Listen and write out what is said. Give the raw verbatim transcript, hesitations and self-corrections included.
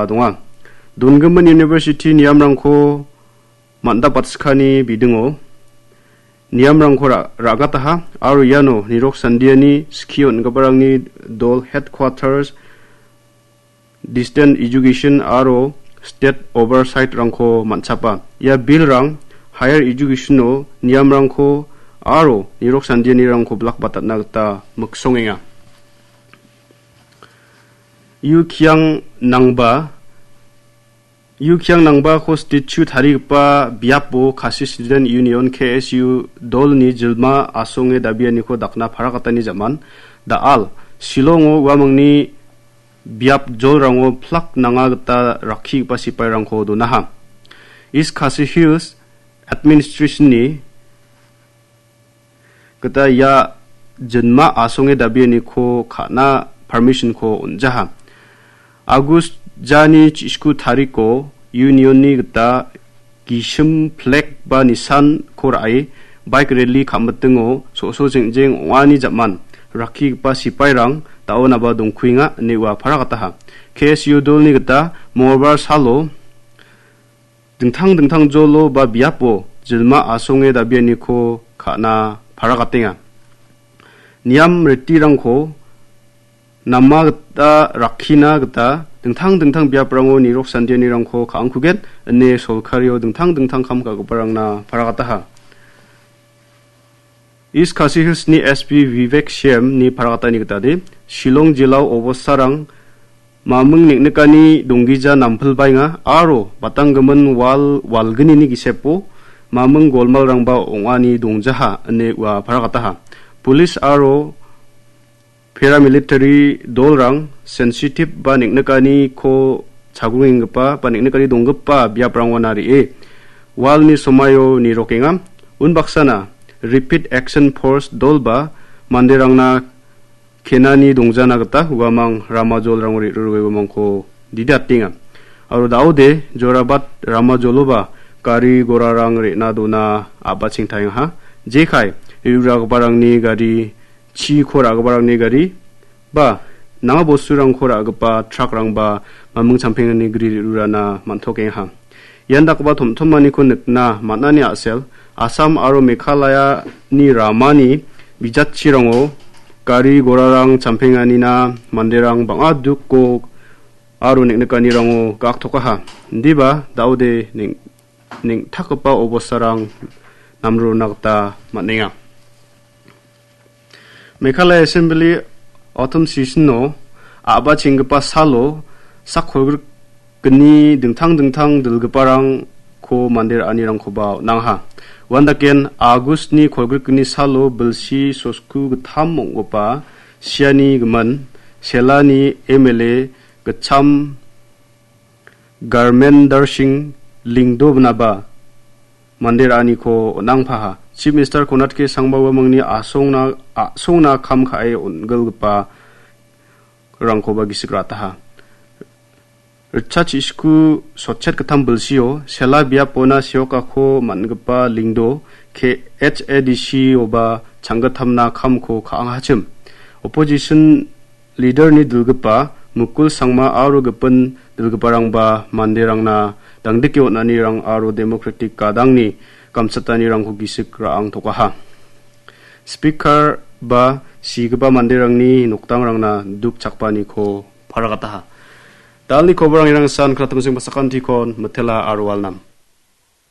donga. Dongimin university niamrangko mandapatskani bidingo niamrangko ra-, ra·gataha aro iano nirok sandiani skie on·giparangni dol headquarters, distance education aro state oversight-rangko man·chapa. Ia bill-rang higher education-o niamrangko aro nirok sandianirangko bilakbatatna gita miksongenga. Yu Kiang Nangba, Yu Kiang Nangbako statue tarigipa biapo Khasi Student Union, K S U, dolni jilma asonge dabianiko dakna parakatani jaman, da·al, Shillongo uamangni biap jolrango plak nanga gita rakkigipa sipairangko donaha. East Khasi Hills Administration-ni gita ia jinma asonge dabianiko ka·na permission-ko on·jaha. August jani chi-, sku tariko Union-ni gita gisim flag ba nisanko ra·e bike rally ka·mitingo so·so jeng·jeng ong·ani jaman rakkigipa sipairang da·onaba dongkuenga ine ua parakataha. K S U dolni gita mongolbar salo dingtang dingtang jolo ba biapo jilma asonge dabianiko ka·na parakatenga. Niam ritirangko nama gita rakkina gita dingtang dingtang biaprango nirok sandianirangko ka·angkugen ine solkario dingtang dingtang kam ka·giparangna parakataha. East Khasi Hills-ni S P Vivek Shem-ni parakatani gitade, Shillong jilao obostarang maming neng·nikani donggija nampilbaenga aro batanggimin wal walgnini gisepo maming golmalrangba ong·ani dongjaha ine ua parakataha. Police aro paramilitary dolrang sensitive ba neng·nikaniko chagrungenggipa ba neng·nikani donggipa biaprangona re·e, walni somaio nirokenga. Unbaksana Rapid Action Force dolba manderangna kenani dongjana gita uamang rama jolrango re·rurue uamangko didatenga. Aro da·ode Jorabat rama joloba gari gorarang re·na dona a·bachengtaengaha. Jekai re·ruragiparangni gari chiko ra·giparangni gari ba nanga bosturangko ra·gipa truck-rangba maming champengani gri re·rurana man·tokengaha. Ian dakgipa tomtomaniko nikna man·ani a·sel, Assam aro Meghalaya-ni ramani bijatchirango gari gorarang champenganina manderang bang·a duko aro neng·nikanirango ga·aktokaha. Indiba da·ode neng-, neng·takgipa obostarang namrona gita man·enga. Meghalaya Assembly autumn session-o a·bachenggipa salo sak kolgrikgni dingtang dingtang dilgiparangko mande ra·anirangkoba on·angaha. Uandaken August-ni kolgrikgni salo bilsi sosku gittam ong·gipa siani gimin Selani M L A gitcham Dharmendra Singh Lyngdoh-naba mande ra·aniko on·angpaha. Chief Minister Konrad K Sangma uamangni asongna, a·songna kam ka·e on·gilgipa rangkoba gisik ra·ataha. Ritchard Chisku sotchet gittam bilsio Sela biapona seokako man·gipa Lyngdoh K H A D C-oba changgittamna kamko ka·angachim. Opposition leader-ni dilgipa Mukul Sangma aro gipin dilgiparangba manderangna dangdike on·anirang aro democratic gadangni gamchatanirangko gisik ra·angtokaha. Speaker ba sigipa manderangni nokdangrangna duk chakpaniko paragataha. Dalni koborang irang san kratungsing pasakantikon mitela aro walnam.